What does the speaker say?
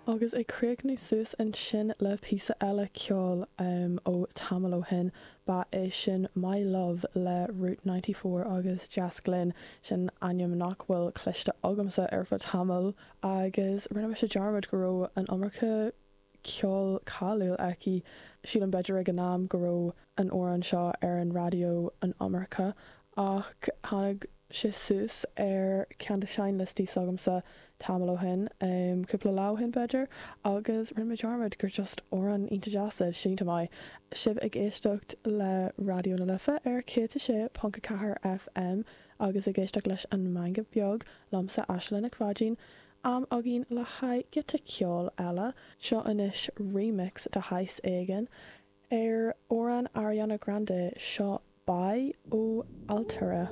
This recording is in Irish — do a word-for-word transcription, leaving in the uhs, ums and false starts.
Agus ag críochnú suas ansin le píosa eile ceoil um, ó tamall ó shin ba é sin My Love le Route ninety four agus Jess Glynne sin ainm nach bhfuil cloiste agamsa ar feadh tamaill agus rinne mise dearmad go raibh an iomarca ceol cáiliúil aici. Sílim b'fhéidir ag an am go raibh an amhrán seo ar an raidió an iomarca ach tháinig sé suas ar ceann de seinnliostaí s'agamsa tamall ó shin, cúpla lá ó shin b'fhéidir, agus rinne mé dearmad gur just amhrán iontach deas é, sínte maith. Sibh ag éisteacht le Raidió na Life ar céad a sé ponc a ceathair FM agus ag éisteacht leis an Meangadh Beag liomsa Aisling Nic Pháidín. Am againn le haghaidh giota ceoil eile. Seo anois remix de shaghas éigin ar amhrán Ariana Grande, seo Bye ó Altura.